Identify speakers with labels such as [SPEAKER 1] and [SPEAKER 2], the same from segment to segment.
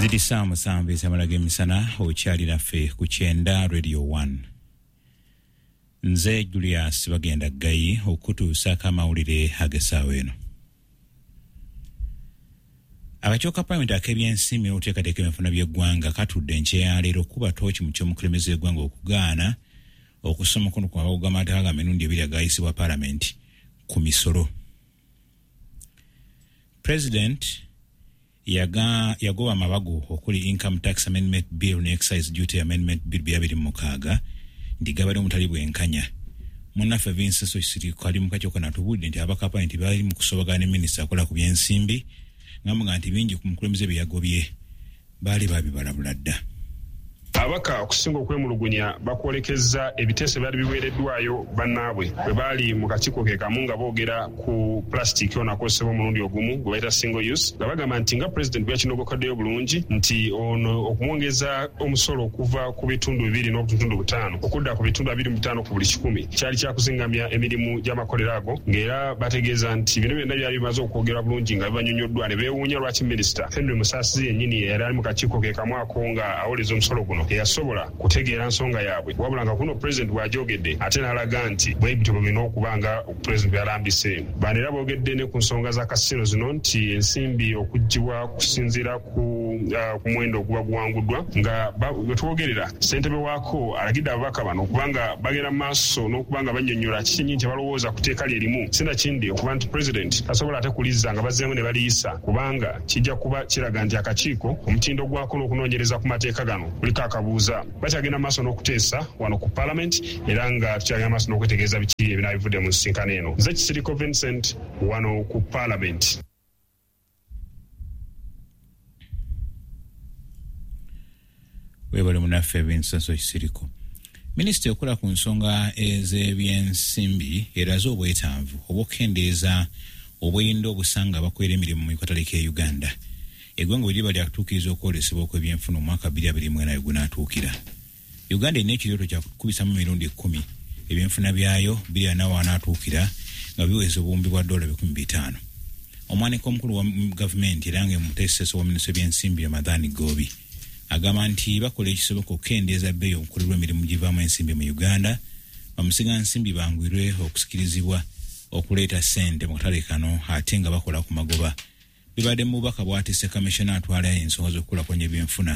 [SPEAKER 1] Ziri ssaawa 7 ez'amala g'emisana, okyali naffe ku 90 Radio 1. Nze Julius Bagenda Ggayi okutuusaako amawulire ag'essaawa eno. Akakiiko ka Palamenti ak'ebyensimbi n'okuteekateeka ebyenfuna by'eggwanga katudde enkya ya leero okukuba ttooki mu ky'omukulembeze w'eggwanga okugaana okussa omukono ku mabago g'amateeka ga mirundi ebiri agayisibwa Palamenti ku misolo. President yagoba amabago okuli Income Tax Amendment Bill ne Excise Duty Amendment Bill 2026 nti gabadde omutali bwenkanya. Munnaffe Vincent Kisiriko ali mu kakiiko kano atubuulidde nti ababaka ba Palamenti bali mu kusoobagana ne minisita akola ku byensimbi ng'amuga nti bingi ku mukulembeze bye yagobye baali baabibalabula dda.
[SPEAKER 2] Ababaka okusinga okwemulugunya bakwolekezza ebiteeso ebyali biweereddwayo bannaabwe bwe baali mu kakiiko ke kamu nga boogera ku pulasitiiki ono akozesebwa omulundi ogumu gwe bayita single use nga bagamba nti nga Pulezidenti bwe yakinogokoddeyo bulungi nti ono okumwongeza omusolo okuva ku bitundu 2.5 okudda ku bitundu 25 ku buli kikumi kyali kyakuzingamya emirimu gy'amakolero ago ng'era bategeeza nti bino byonna byali bimaze okwogerwa bulungi nga bibanyonyoddwa ne beewuunya lwaki Minisita Henry Musaasizi yennyini eyali ali mu kakiiko ke kamu ako nga awoleza omusolo guno teyasobola kutegeera nsonga yaabwe wabula nga kuno Pulezidenti bw'agyogedde ate n'alaga nti bwe bityo bwe birina okuba nga Pulezidenti bwe yalambise. Bano era boogedde ne ku nsonga za kasino zino nti ensimbi okuggyibwa kusinziira ku ku muwendo oguba guwanguddwa nga we twogerera ssentebe waako alagidde ababaka bano okuba nga bagenda mu maaso n'okuba nga bannyonnyola kiki kyennyini kye balowooza ku tteeka lye limu sinakindi okuba nti Pulezidenti tasobola ate kulizza nga bazzeemu ne baliyisa kubanga kijja kuba kiraga nti akakiiko omutindo gwako n'okunoonyereza ku mateeka gano kuliko akabuuza. Bakyagenda mu maaso n'okuteesa wano ku Palamenti era nga tukyagenda mu maaso n'okwetegereza biki ebinaaba bivudde mu nsisinkano eno. Nze Kisiriko Vincent wano ku Palamenti.
[SPEAKER 1] Webale munaffe Vincent Kisiriko. Minisita ekola ku nsonga ez'ebyensimbi eraze obwetaavu obw'okukendeeza obweyinda obusanga abakolera emirimu mu katale k'e Uganda. Eggwanga bwe liba lyakutuukiriza okwolesebwa okw'ebyenfuna omwaka 2024 we gunaatuukira. Uganda erina ekirooto kya kukubisamu emirundi 10 ebyenfuna byayo 2040 w'anaatuukira nga biweza obuwumbi bwa dola 500. Omwanika omukulu wa gavumenti era nga muteesiteesi wa minisitule y'ebyensimbi Ramadhan Ggoobi agamba nti bakola ekisoboka okukendeeza bbeeyi okukolerwa emirimu givaamu ensimbi mu Uganda, bamusigansimbi banguyirwe okusikirizibwa okuleeta ssente mu katale kano ate nga bakola ku magoba. Bibadde mu bubaka bw'atisse Kamishona atwala ensonga z'okukulaakulanya ebyenfuna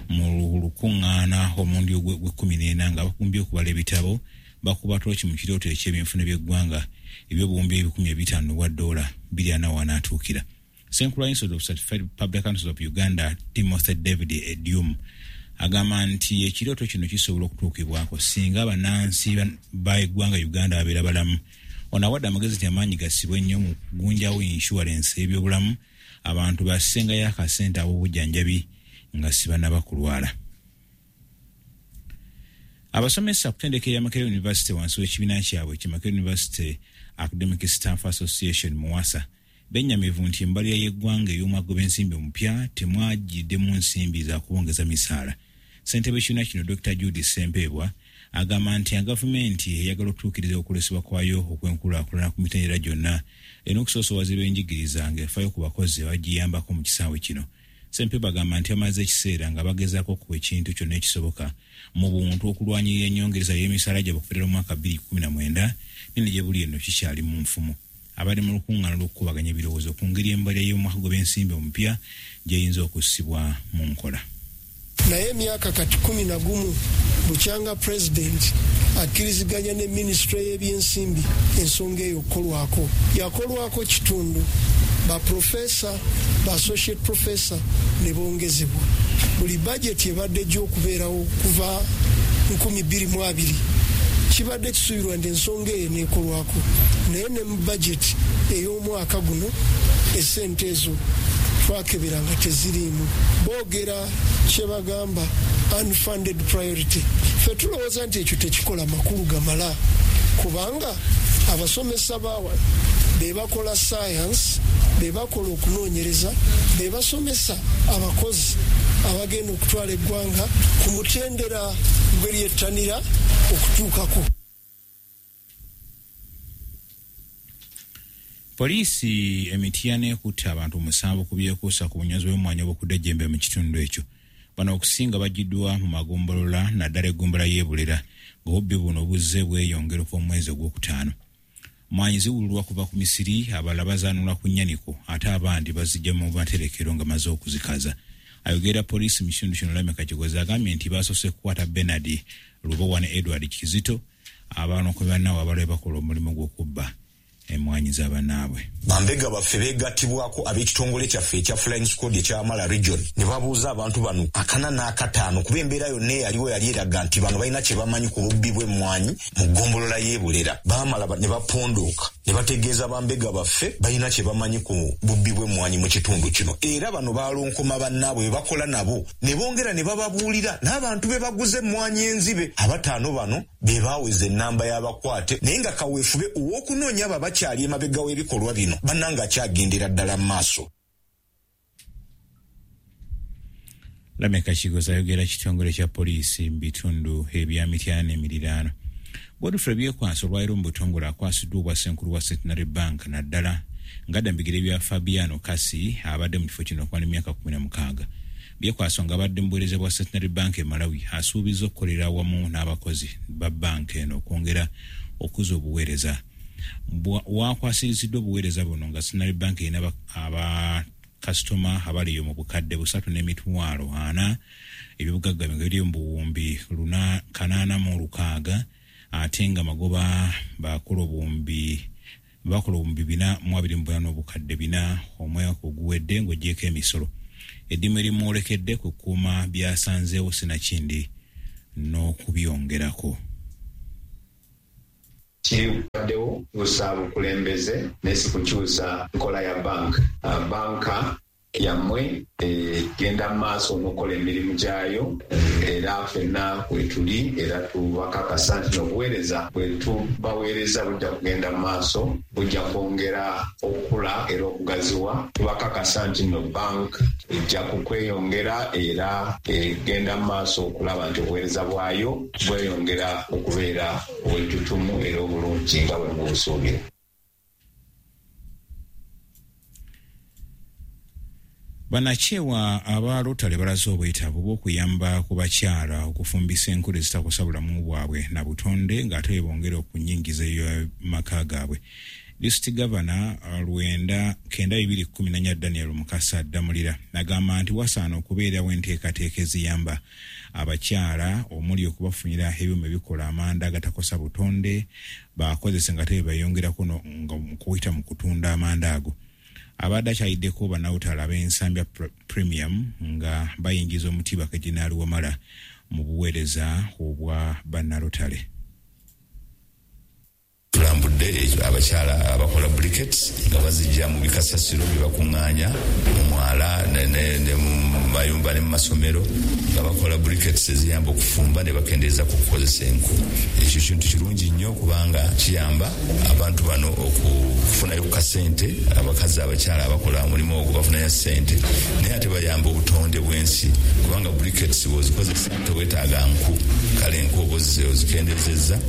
[SPEAKER 1] mu lukuŋŋaana omulundi gw'e14 nga bakumbye okubala ebitabo bakuba ttooki mu kirooto eky'ebyenfuna by'eggwanga eby'obuwumbi 500 bwa dola 20 w'anaatuukira. Ssenkulu wa Institute of Certified Public Accountants of Uganda Timothy David Edium agamba nti ekirooto kino kisobola okutuukibwako singa bannansi ba eggwanga Uganda babeera balamu. Ono awadde amagezi nti amaanyi gassibwe nnyo mu kugunjawo inshuwalensi y'ebyobulamu abantu bassengayo akasente ab'obujjanjabi nga si bannaba kulwala. Abasomesa ku ttendekero lya Makerere University wansi w'ekibiina kyabwe ki Makerere University Academic Staff Association MUASA bennyamivu nti embalirira y'eggwanga ey'omwaka gw'ensimbi omupya temwagiddemu nsimbi za kubongeza misaala. Ssentebe w'ekibiina kino Dr. Jude Ssempeebwa agamba nti gavumenti eyagala okutuukiriza okwolesebwa kwayo okw'enkulaakulana ku mitendera gyonna erina okusoosowaza ebyenjigiriza ng'efaayo ku bakozi abagiyambako mu kisaawe kino. Ssempeebwa agamba nti bamaze ekiseera nga bagezaako okukola ekintu kyonna ekisoboka mu buntu okulwanyirira ennyongereza y'emisaala gyabwe okuva ddala mu mwaka 2019 nene gye buli eno kikyali mu nfumo. Abadde mu lukuŋŋaana lw'okukubaganya ebirowoozo ku ngeri embalirira y'omwaka gw'ensimbi omupya gy'eyinza okussibwa mu nkola.
[SPEAKER 3] Naye emyaka kati 11 bukyanga Pulezidenti akkiriziganya ne minisitule y'ebyensimbi ensonga eyo okukolwako. Yakolwako kitundu, ba professor, ba associate professor ne bongezebwa. Buli bajeti ebadde ejja okubeerawo kuva 2020 kibadde kisuubirwa nti ensonga eyo eneekolwako, naye ne mu bajeti ey'omwaka guno essente ezo twakebera nga teziriimu. Boogera kye bagamba unfunded priority. Ffe tulowooza nti ekyo tekikola makulu gamala kubanga abasomesa baawa be bakola science, be bakola okunoonyereza, be basomesa abakozi abagenda okutwala eggwanga ku mutendera gwe lyettanira okutuukako.
[SPEAKER 1] Poliisi emitiana ekutte abantu 7 ku byekuusa ku bunyozi bw'emmwanyi obukudde ejjembe mu kitundu ekyo. Bano okusinga bagiddwa mu magombolola naddala eggombolola y'e Bulera, ng'obubbi buno buzze bweyongera okuva mu mwezi ogwokutaano. Mmwanyi ziwululwa kuva ku misiri, abalala bazaanula ku nnyaniko, ate abandi bazijja mu materekero nga maze okuzikaza. Ayogera poliisi mu kitundu kino, Lameka Kigozi, agambye nti basoose kukwata Bernard Lubowa ne Edward Kizito, abanokobe bannaabwe abalala bakola omulimu gw'okubba emmwanyi z'abannaabwe.
[SPEAKER 4] Bambega baffe beegattibwako ab'ekitongole kyaffe ekya Flying Squad ekyamala region ne babuuza abantu bano 45, kuba embeera yonna eyaliwo yali eraga nti bano balina kye bamanyi ku bubbi bw'emmwanyi mu ggombolola y'e Bulera. Baamala ne bapondooka ne bategeeza bambega baffe balina kye bamanyi ku bubbi bw'emmwanyi mu kitundu kino. Era bano balonkoma bannaabwe be bakola nabo ne bongera ne bababuulira n'abantu be baguze emmwanyi enzibe. Abataano bano be baaweza ennamba y'abakwate, naye nga kaweefube ow'okunoonya abo abakyali emabega w'ebikolwa bino, bannanga, akyagendera ddala mu maaso.
[SPEAKER 1] Lameka Kigozi ayogera kitongole kya poliisi mu bitundu ebya Mityana n'emiriraano. Godfrey Byekwaso olwaliro mu butongole akwasiddwa obwa ssenkulu wa Centenary Bank, naddala ng'adda mu bigere bya Fabiano Kasi abadde mu kifo kino okumala emyaka 16. Byekwaso ng'abadde mu buweereza bwa Centenary Bank e Malawi, asuubiza okukolera awamu n'abakozi ba banka eno okwongera okuza obuweereza. Wakwasiriziddwa obuweereza buno nga Centenary Bank erina abakasitoma abaliyo mu 340,000, ebyobugagga nga biri mu 806,000, ate nga magoba bakola 428,400 omwaka oguwedde ng'ogyeko emisolo. Eddimu erimwolekedde kukuuma byasanzeewo sinakindi n'okubyongerako.
[SPEAKER 5] Kibaddewo kukyusa bukulembeze naye si kukyusa nkola ya banka. Banka yammwe egenda mu maaso n'okukola emirimu gyayo, era ffenna wetuli era tubakakasa nti n'obuweereza bwe tubaweereza bujja kugenda mu maaso, bujja kwongera okukula era okugaziwa. Tubakakasa nti no bank ejja kukweyongera era egenda mu maaso okulaba nti obuweereza bwayo bweyongera okubeera obwettutumu era obulungi nga bwe mubusuubira.
[SPEAKER 1] Banakyewa aba Rotary balaze obwetaavu bw'okuyamba ku bakyala okufumbisa enkola ezitakosa bulamu bwabwe na butonde, ng'ate bongera okunyingiza maka gaabwe. District Governor 9214 Daniel Mukasa Ddamulira agamba nti wasaana okubeerawo enteekateeka eziyamba abakyala, omuli okubafunira ebyuma ebikola amanda agatakosa butonde bakozese nga tebebayongerako nga kuyita mu kutunda amanda ago. Abadde akyayiddeko bannawutale ab'Ensambya Premium nga bayingiza omutiba Kaginaali Wamala mu buweereza obwa bannalotale.
[SPEAKER 6] Tulambudde abakyala abakola briquettes nga bazijja mu bikasasiro bye bakuŋŋaanya mu mwala ne mu mayumba ne mu masomero, nga bakola briquettes eziyamba okufumba ne bakendeeza ku kukozesa enku. Ekyo kintu kirungi nnyo kubanga kiyamba abantu bano okufunayo ku kasente. Abakazi, abakyala abakola omulimu ogwo bafunayo sente, naye ate bayamba obutonde bw'ensi kubanga briquettes bw'ozikozesa teweetaaga nku, kale enku oba ozikendezezza.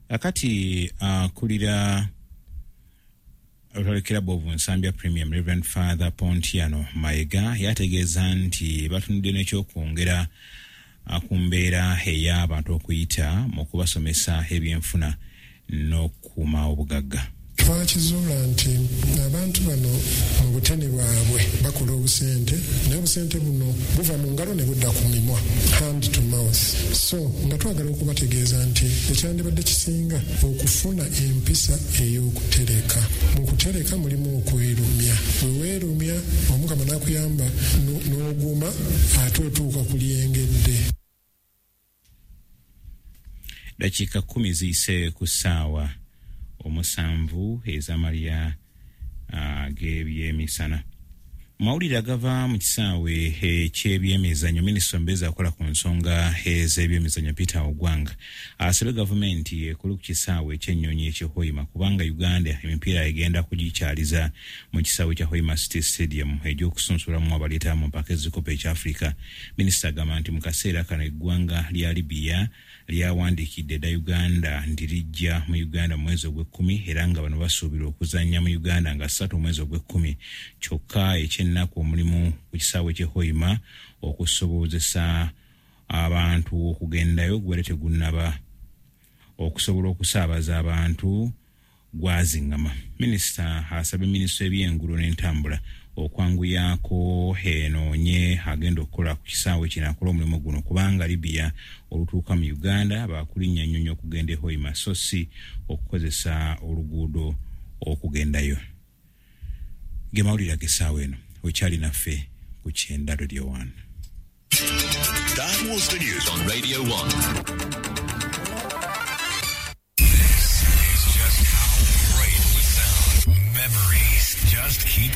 [SPEAKER 1] Akati akulira Rotary Club of Nsambya Premium, Reverend Father Pontiano Mayiga, yategeeza nti batunudde n'ekyokwongera ku mbeera ey'abantu okuyita mu kubasomesa ebyenfuna n'okukuuma obugagga.
[SPEAKER 7] Twakizuula nti abantu bano mu butene bwabwe bakola obusente, naye obusente buno buva mu ngalo ne budda ku mimwa, hand to mouth. So nga twagala okubategeeza nti ekyandibadde kisinga okufuna empisa ey'okutereka. Mu kutereka mulimu okwerumya. Bwe weerumya, Omukama n'akuyamba n'oguma, ate otuuka ku lyengedde.
[SPEAKER 1] Dakiika 10 ziyise ku ssaawa 7 ez'amalya g'ebyemisana. Mawulire agava mu kisaawe eky'ebyemizannyo, minisita omubeezi akola ku nsonga ez'ebyemizannyo Peter Ogwang asabye gavumenti ekole ku kisaawe ekyennyonyi eky'e Hoima, kubanga Uganda emipiira egenda kugikyaliza mu kisaawe kya Hoima City Stadium egy'okusunsulamu abaleeta mu mpaka ezikopo ekya Africa. Minisita agamba nti mu kaseera kano eggwanga lya Libya lyawandiikidde dda Uganda nti lijja mu Uganda mu mwezi ogw'ekkumi, era nga bano basuubirwa okuzannya mu Uganda nga 3 omwezi ogw'ekkumi. Kyokka ekyennaku, omulimu ku kisaawe ky'e Hoima okusobozesa abantu okugendayo gubeere tegunnaba okusobola okusaabaza abantu gwaziŋŋama. Minisita asabye minisita ebyenguudo n'entambula okwanguyaako enoonye agenda okukola ku kisaawe kino akola omulimu guno, kubanga Libya olutuuka mu Uganda bakulinnya nnyonyi okugenda e Hoima, so si okukozesa oluguudo okugendayo. Ge mawulire ag'essaawa eno. Okyali naffe ku Kyenda Radio 1.
[SPEAKER 8] That was the news on Radio 1.
[SPEAKER 9] This is just how great we sound. Memories just keep